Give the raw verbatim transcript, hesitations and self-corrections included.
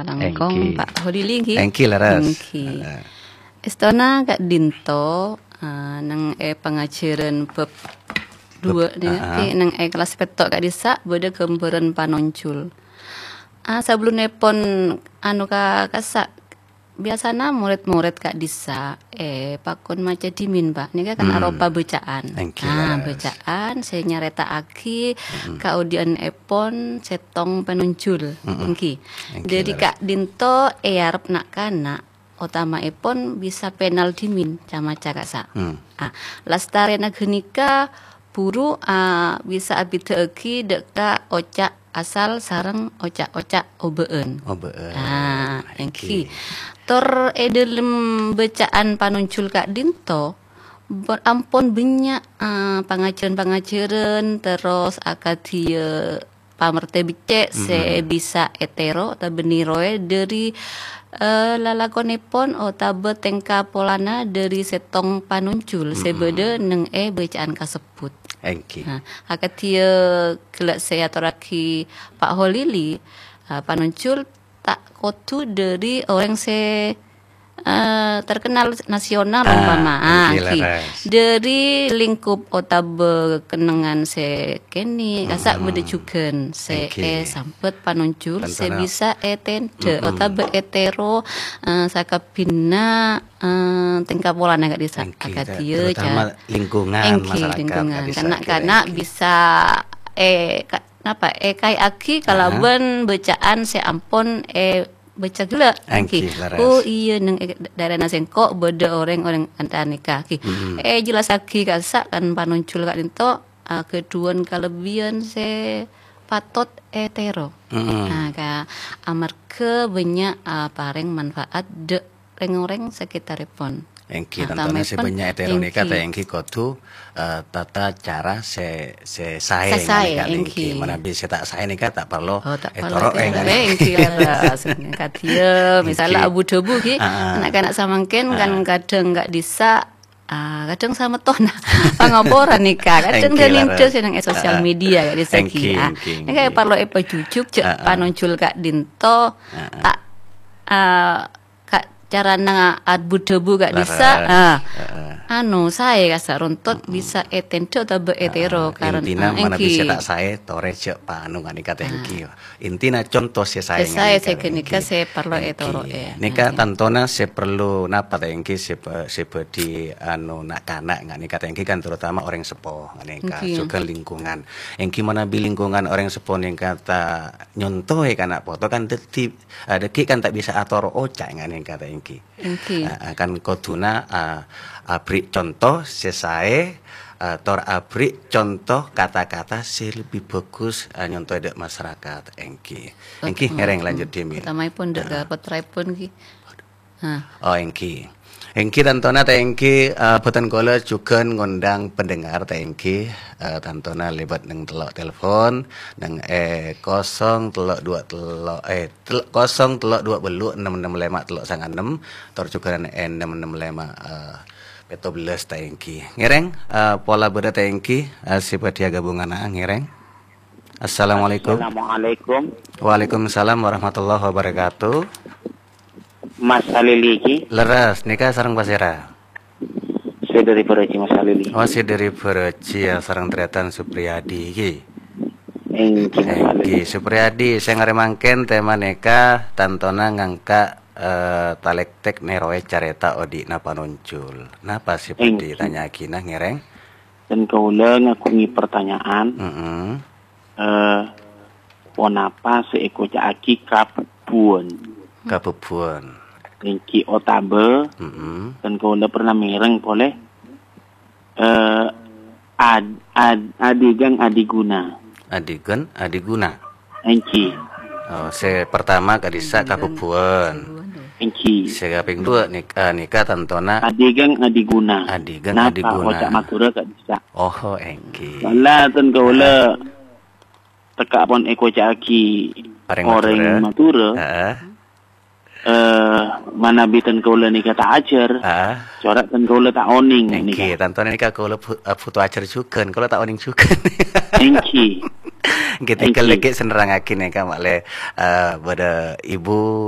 langkong, Èngghi. Pak Holili, èngghi? Èngghi, leres. Èngghi. Heeh. Èstona ka'dinto, eh, neng è pangajhârân bab Bab, dua nèka, ah, ah. Neng è kellas pètto' ka'dissa' bâdâ ghâmbhârân panonjhul. Ah, sabellunnèpon, anu, ka-, kassa', biyasana morèd-morèd ka'dissa', eh, pakon maca dhimèn, Pak. Nèka kan Hmm. aropa bâcaan. Èngghi, Ah, leres. bâcaan sè nyarèta'aghi Mm-mm. kaodi'annèpon sèttong panonjhul. Mm-mm. Èngghi. Èngghi, Dhâri leres. ka'dinto èarep na'-kana' otama'èpon bisa pènal dhimèn ca-maca kassa'. Hmm. Ah, lastarèna ghânèka buru, ah, bisa abhidhâ'aghi dâ' ka oca' asal sareng oca'-oca' obâ'ân. Obâ'ân. Ah, èngghi. Èngghi. Tor è dhâlem bâcaan panonjhul ka'dinto, bo-, ampon bânnya', ah, pangajhârân-pangajhârân, terros akadhi, eh, pamertè beccè' sè Mm-mm. bisa ètèro otabâ nèroè dhâri, eh, lalakonèpon otabâ tèngka polana dhâri sèttong panonjhul sè Mm-mm. bâdâ neng è bâcaan kasebbhut. Èngghi. Nah, akadhi ghellâ' sè èatorraghi Pak Holili, eh, panonjhul ta' kodhu dhâri orèng sè, eh, terkenal nasional, Ah, umpama. Ah, èngghi, èngghi. leres. Dhâri lingkup otabâ kennengngan sè kènè', kassa' Mm-mm. bâdâ jhughân sè Èngghi. èsambhât panonjhul sè Tantona. bisa ètendhâ Mm-mm. otabâ ètèro, eh, sakabbhinna, eh, tèngka polana ka'dissa'. Èngghi, Akadhi ter-, terutama ca-, lingkungan èngghi, masyarakat lingkungan. ka'dissa', Kana'-kana' èngghi. bisa, eh, ka-, napa, èkaè'aghi Ah. kalabân bâcaan sè ampon è bâca ghellâ', Èngghi, èngghi. leres. Oh, iyâ, neng è daerana sèngko' bâdâ orèng-orèng antarèka, èngghi. Mm-mm. Èjellassaghi kassa' kan panonjhul ka'dinto, ah, ghâdhuwân kalebbiyân sè patot ètèro. Mm-mm. Nah, ka-, amarghâ bânnya', ah, parèng manfaat dâ' rèng-orèng sakitarèpon. Èngghi, Nah, tantona sè otama'èpon, bânnya' ètèro nèka èngghi. ta' èngghi kodhu, eh, tata cara sè, sè saè Sè saè, nganèka èngghi. èngghi. Manabi sè ta' saè nèka ta' parlo Oh, ta' parlo ètoro'è ètèro. nganèka. Èngghi, leres. Kadhiyâ, misal Èngghi. abu-dhâbu, ghi. Ah, ah. Na'-kana' samangkèn kan Ah. kadhâng ka'dissa', ah, kadhâng samettonna pangaporan nèka. Kadhâng Èngghi, dhâlem leres. sè neng è sosial Ah, ah. media ka'dissa', ghi. Èngghi, Ah, èngghi, nèka èngghi. parlo èpajhujuk, jhâ' Ah, ah. panonjhul ka'dinto, Ah, ah. ta', ah, ka-, carana abu-dhâbu ka'dissa', Leres. ah, Heeh. anu, saè kassa' rontot Mm-mm. bisa ètendhâ otabâ ètèro Heeh. karena, Intina ah, manabi sè èngghi. ta' saè, torè jhâ' panu nganèka ta' Ah. èngghi. Intina conto sè saè Sè saè nganèka sè ta' ghânèka èngghi. sè parlo Èngghi. ètoro'è. Nèka Ah, tantona sè parlo napa ta' èngghi sè ba-, sè bhâdhi anu na'-kana' nganèka ta' èngghi kan terutama orèng seppo nganèka, Èngghi. jhughân lingkungan. Èngghi manabi lingkungan orèng seppo nèka ta' nyontoè ka na' poto kan dhâddhi Ah, dhâggi' kan ta' bisa atoro' oca' nganèka ta' èngghi. Èngghi. Ah, ah, kan kodhuna, ah, aberri' conto sè saè, ah, tor aberri' conto kata-kata sè lebbi bhâghus, ah, nyontoè dâ' masarakat. Èngghi. Èngghi, Oh, ngèrèng oh, lanjut oh. dhimèn. Utamaèpon dâ' Ah. ka pottraèpon ghi. Ah. Oh, èngghi. Èngghi tantona ta' èngghi, eh, bhâdhân kaulâ jhughân ngondhâng pendengar ta' èngghi, eh, tantona lèbât neng tello' telepon, neng è kosong tello' dua tello', eh, tel-, kosong tello' dua bâllu' ennem ennem lèma' tello' sanga ennem, tor jhughân è ennem ennem lèma', eh, pètto bellâs ta' èngghi. Ngèrèng, eh, pola bâdâ ta' èngghi, eh, sè bhâdhi aghâbungana, ngèrèng. Assalamualaikum. Assalamualaikum. Waalaikumsalam warahmatullahi wabarakatuh. Mas Halili ghi? Leres, nèka sareng pasèra? Sè dâri Bhârâji, Mas Halili. Oh, sè dâri Bhârâji, ya, sareng tarètan Supriyadi ghi? Èngghi, Mas Halili. Èngghi, Supriyadi, sè ngarè mangkèn tèma nèka tantona ngangka', eh, talèktèk nèroè carèta odi'na panonjhul. Napa sè bhâdhi Èngghi. tanya'aghina, ngèrèng? Dân kaulâ ngaghungè pertanyaan. Mm-mm. Eh, ponapa sè èkoca'aghi kabhubbuwân? Kabhubbuwân. Èngghi otabâ, Mm-mm. dân kaulâ pernah mèreng polè, eh, ad-, ad-, adhigân adhiguna. Adhigân adhiguna. Èngghi. Oh, sè pertama ka'dissa' kabhubbuwân. Èngghi. Sè kapèng duwâ' nik-, eh, nèka tantona Adhigân adhiguna. Adhigân Napa adhiguna. oca' Madhurâ ka'dissa'? Oh, èngghi. Soalla dân kaulâ Ah. tekka' pon èkoca'aghi Orèng orèng Madhurâ. Madhurâ. Heeh. Eh, manabi dân kaulâ nèka ta' ajhâr, Ah. cora' dân kaulâ ta' onèng Èngghi, nèka. tantona nèka kaulâ bu-, eh, bhuto ajhâr jhughân, kaulâ ta' onèng jhughân. Èngghi. Èngghi, tèngghâl Èngghi. dhâggi' sè nerrangaghi nèka, ma'lè, eh, bâdâ ibu